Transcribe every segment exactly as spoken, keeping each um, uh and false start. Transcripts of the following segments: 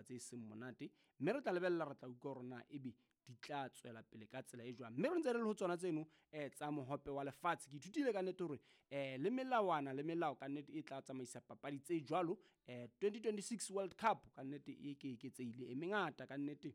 tse seng monate mme re tla lebella re tla utlwa hore na ebe di tla tswela pele ka tsela e jwang. Mme re ntse re le ho tsona tseno eh tsa mohope wa lefatshe. Ke ithutile ka nnete hore eh le melawana le melao ka nnete e tla tsamaisa papadi tse jwalo. eh twenty twenty-six World Cup ka nnete e ke eketsehile e mengata ka nnete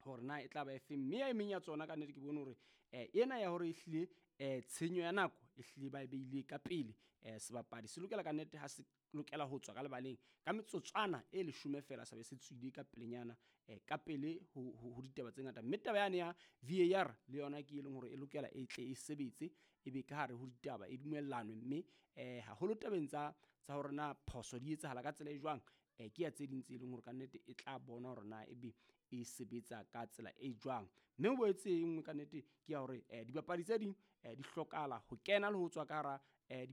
hore na e tla ba efeng, mme ya e meng ya tsona ka nnete ke bone hore eh ena ya hore ehlile eh tshenyo ya nako ehlile ba e beile ka pele. eh sebapadi se lokela ka nnete ha se lokela ho tswa ka lebaleng ka metsotswana e leshome fela sa be se tswile ka pelenyana eh ka pele ho ho ditaba tse ngata. Mme taba yane ya V A R le yona ke e leng hore e lokela e tle e sebetse e be ka hare ho ditaba e dumellanwe, mme eh haholo tabeng tsa tsa hore na phoso di etsahala ka tsela e jwang eh ke ya tse ding tse leng hore ka nnete e tla bona hore na ebe e sebetsa ka tsela e jwang. Mme ho boetse e nngwe ka nnete ke ya hore eh dibapadi tse ding eh di hlokahala ho kena le ho tswa ka hara eh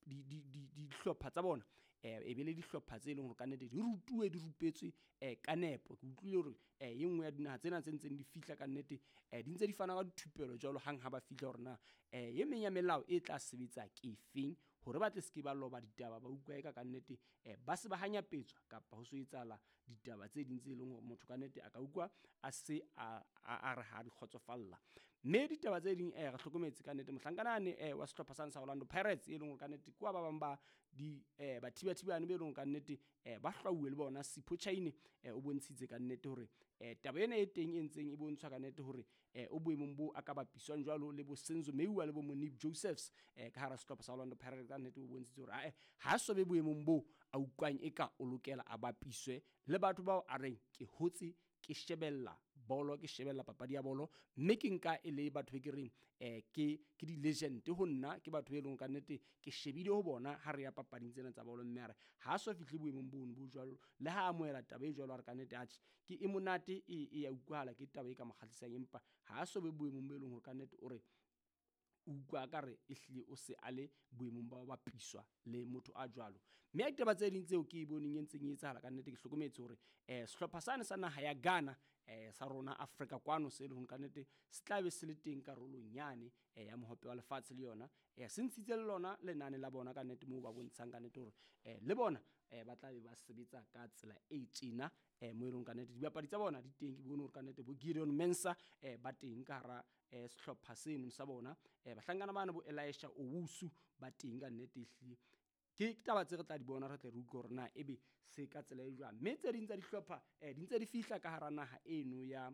di di di dihlopha tsa bona eh e be le dihlopha tse leng hore ka nnete di rutuwe di rupetswe eh ka nepo. Ke utlwile hore eh e nngwe ya dinaha tsena tse ntseng di fihla ka nnete eh di ntse di fana ka dithupelo jwalo hang ha ba fihla hore na eh e meng ya melao e tla sebetsa ke efeng hore ba tle se ke ba loba ditaba ba utlwa eka ka nnete eh ba se ba hanyapetswa kapa ho so etsahala ditaba tse ding tse leng hore motho ka nnete a ka utlwa a se a a re ha di kgotsofalla. Mme ditaba tse ding eh re hlokometse ka nnete mohlankana ane eh wa sehlopha sa Orlando Pirates e leng hore ka nnete kwa ba bang ba di eh bathibathibane be leng ka nnete eh ba hlwauwe le bona Sipho Chaine eh o bontshitse ka nnete hore eh taba ena e teng e ntseng e bontshwa ka nnete hore eh o boemong bo a ka bapiswang jwalo le bo Senzo Meyiwa le bo Monib Josephs eh ka hara sehlopha sa Orlando Pirates ka nnete o bontshitse hore ae ha so be boemong bo a utlwang e ka o lokela a bapiswe le batho bao a reng ke hotse ke shebella bolo ke shebella papadi ya bolo mme ke nka e le batho be ke reng eh ke ke di legend ho nna ke batho be leng ka nnete ke shebile ho bona ha re ya papading tsena tsa bolo mme a re ha so fihle boemong bono bo jwalo le ha amohela taba e jwalo a re ka nnete atjhe ke e monate e e ya utlwahala ke taba e ka mo kgahlisang empa ha so be boemong bo leng hore ka nnete o re utlwa ka re ehlile o se a le boemong ba ho bapiswa le motho a jwalo. Mme ya ditaba tse ding tseo ke e boneng e ntseng e etsahala ka nnete ke hlokometse hore eh sehlopha sane sa naha ya Ghana eh sa rona Afrika kwano se leng ka nnete se tla be se le teng karolong yane eh ya mohope wa lefatshe le yona eh se ntshitse le lona lenane la bona ka nnete moo ba bontshang ka nnete hore eh le bona eh ba tla be ba sebetsa ka tsela e tjena eh mo e leng ka nnete dibapadi tsa bona di teng ke bone hore ka nnete bo Gideon Mensah eh ba teng ka hara eh sehlopha seno sa bona eh bahlankana bana bo Elisha Owusu ba teng ka nnete ehlile ke taba tse re tla di bona re tle re utlwe hore na ebe se ka tsela e jwang. Mme tse ding tsa dihlopha eh di ntse di fihla ka hara naha eno ya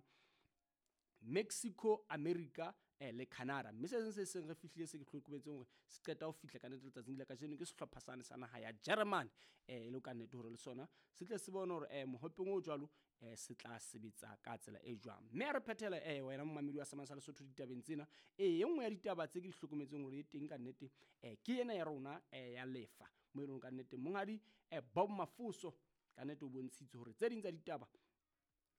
Mexico, America eh le Canada. Mme se seng se seng re fihlile se ke hlokometseng hore se qeta ho fihla ka nnete letsatsing la kajeno ke sehlopha sane sa naha ya Germany eh e le ka nnete hore le sona se tle se bone hore eh mohopeng o jwalo eh se tla sebetsa ka tsela e jwang. Mme a re phethela eh wena momamedi wa Semang sa Lesotho ditabeng tsena eh e nngwe ya ditaba tse ke di hlokometseng hore e teng ka nnete eh ke ena ya rona eh ya lefa mo e leng ka nnete monghadi eh Bob Mafuso ka nnete o bontshitse hore tse ding tsa ditaba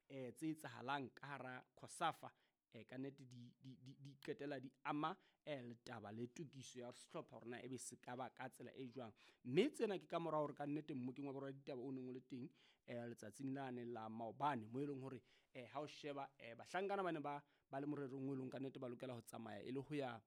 eh tse etsahalang ka hara COSAFA eh ka nnete di di di qetela di ama eh letaba le tokiso ya sehlopha hore na ebe se ka ba ka tsela e jwang. Mme tsena ke ka mora hore ka nnete mmokeng wa borwa ditaba o neng o le teng eh letsatsing lane la maobane mo e leng hore eh ha o sheba eh bahlankana bane ba ba le morerong o leng ka nnete ba lokela ho tsamaya e le ho ya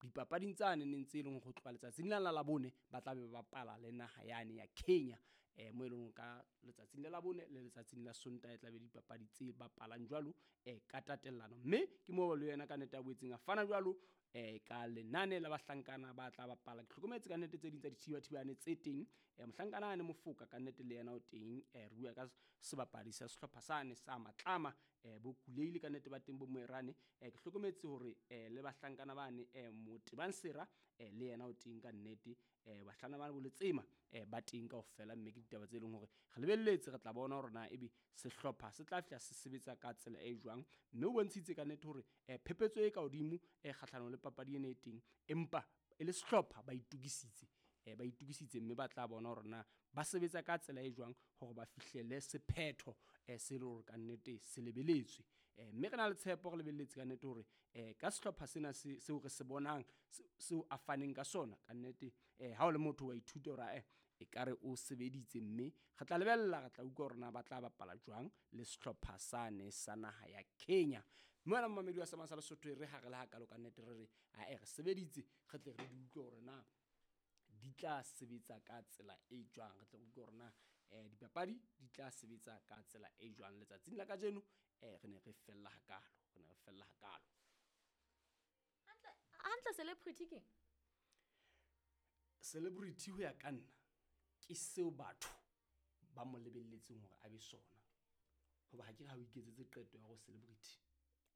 dipapading tsane neng tse leng ho tloha letsatsing la la bone ba tla be ba bapala le naha yane ya Kenya eh mo e leng ka letsatsing la labone le letsatsing la Sontaha e tla be dipapadi tse bapalang jwalo eh ka tatellano. Mme ke moo le yena ka nnete a boetseng a fana jwalo eh ka lenane la bahlankana ba tla bapala. Ke hlokometse ka nnete tse ding tsa dithibathibane tse teng eh mohlankana ane Mofoka ka nnete le yena o teng eh re bua ka sebapadi sa sehlopha sane sa Matlama eh bo Kuleile ka nnete ba teng bo Moerane eh ke hlokometse hore eh le bahlankana bane eh Motebang Sera eh le yena o teng ka nnete eh bahlana bana bo Letsema eh ba teng kaofela. Mme ke ditaba tse leng hore re lebelletse re tla bona hore na ebe sehlopha se tla fihla se sebetsa ka tsela e jwang. Mme o bontshitse ka nnete hore eh phephetso e ka hodimo eh kgahlanong le papadi ena e teng empa e le sehlopha ba itokisitse eh ba itokisitse mme ba tla bona hore na ba sebetsa ka tsela e jwang hore ba fihlele sephetho eh se le hore ka nnete se lebeletswe. Eh mme re na le tshepo re lebelletse ka nnete hore eh ka sehlopha sena se seo re se bonang seo a faneng ka sona ka nnete eh ha o le motho wa ithuta hore eh e ka re o sebeditse mme re tla lebella re tla utlwa hore na ba tla bapala jwang le sehlopha sane sa naha ya Kenya. Mme wena momamedi wa Semang sa Lesotho re ha re le hakalo ka nnete re re a e re sebeditse re tle re di utlwe hore na di tla sebetsa ka tsela e jwang, re tle re utlwe hore na um dipapadi di tla sebetsa ka tsela e jwang letsatsing la kajeno. um re ne re fella hakalo, re ne re fella hakalo. Hantle celebrity keng? Celebrity ho ya ka nna ke seo batho ba mo lebelletseng hore a be sona. Hoba ha ke re ha o iketsetse qeto ya hore celebrity.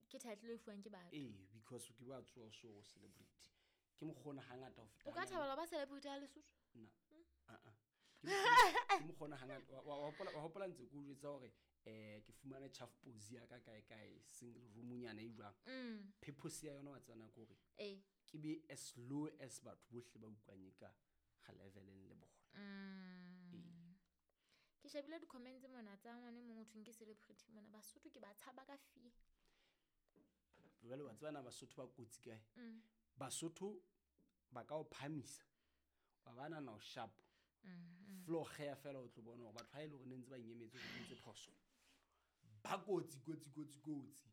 Ke title e fuwang ke batho. Ee, because ke ba tsoha so hore celebrity. Ke mokgona hangata ho feta O ka hanyane. thabela ho ba celebrity ya Lesotho? Nna. Ah ah. Ke mokgona, ke mokgona hangata. Wa wa hopola wa hopola ntse ke o jwetsa hore eh ke fumane chaff posi ya ka kae kae single room-nyana e jwang. Mm. Purpose ya yona wa tseba na ke hore Ee. ke be as low as batho bohle ba utlwang e ka ga leveleng le bona. Mm. Ee. Ke shebile di-comments mona tsa ngwana e mong ho thweng ke celebrity mona. Basotho ke ba tshaba ka fear. Jwale wa tseba na Basotho ba kotsi kae? Mm. Basotho ba ka o phahamisa wa ba nahana o sharp. Mm. Floor kgeya fela o tlo bona hore batho ha e le hore ne ntse ba nkemetse hore ke entse phoso. Ba kotsi kotsi kotsi kotsi.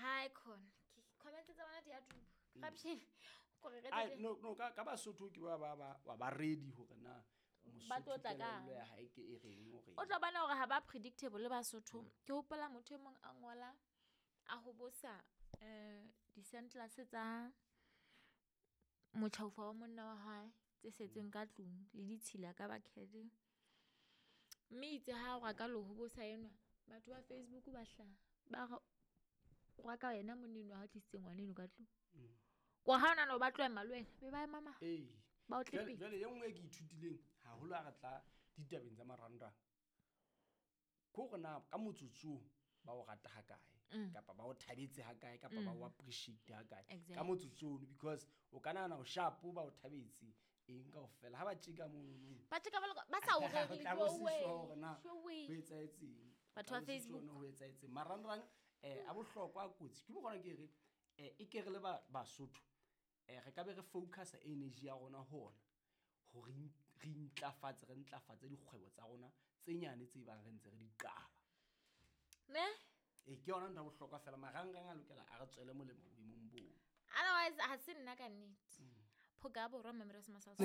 Hai khona. Ke comments tsa bona di a duba. Corruption. Kore re Ai tle- no no ka ka Basotho ke ba ba ba wa ba ready hore na Ba tlo Mosotho tla kang. kelello ya hae ke e reng hore O tlo bona hore ha ba predictable le Basotho. Ke hopola motho e mong a ngola a hobosa eh di-sandals tsa motjhaufa wa monna wa hae tse setseng ka tlung le ditshila ka bucket. Mme itse ha o ka lo hobosa enwa batho ba Facebook ba hlaha ba re o ka yena monna enwa ha tlisitse ngwana eno ka tlung. Mm. Kwa ha ona no ba tlo ema le wena be ba ema ma Ee. ba o tle Jwale pele. jwale e nngwe e ke ithutileng haholo ha re tla ditabeng tsa marangrang. Ke hore na ka motsotsong ba o rata ha kae Mm. kapa ba o thabetse ha kae kapa ba Mm. o appreciate ha kae. Ka Exactly. motsotsong ono because o ka nahana o sharp ba o thabetse eng kaofela ha ba tjeka monono. Ba tjeka ba le ba sa o O rere tla bo se jowe. sure hore na Jowe. ho etsahetseng. O Batho tla ba bo se sure Facebook. na ho etsahetseng. Marangrang eh a bohlokwa a kotsi. Ke mokgwa ona ke re eh e ke re le ba Basotho eh re ka be re focus energy ya rona ho ona hore re re intlafatse re ntlafatse dikgwebo tsa rona tse nyane tse bang re ntse re di qala. Ne? Ee, ke yona ntho ya bohlokwa fela marangrang a lokela a re tswele molemo boemong boo. Otherwise ha se nna ka nnete. Phoka ya borwa Mamelodi Smasals.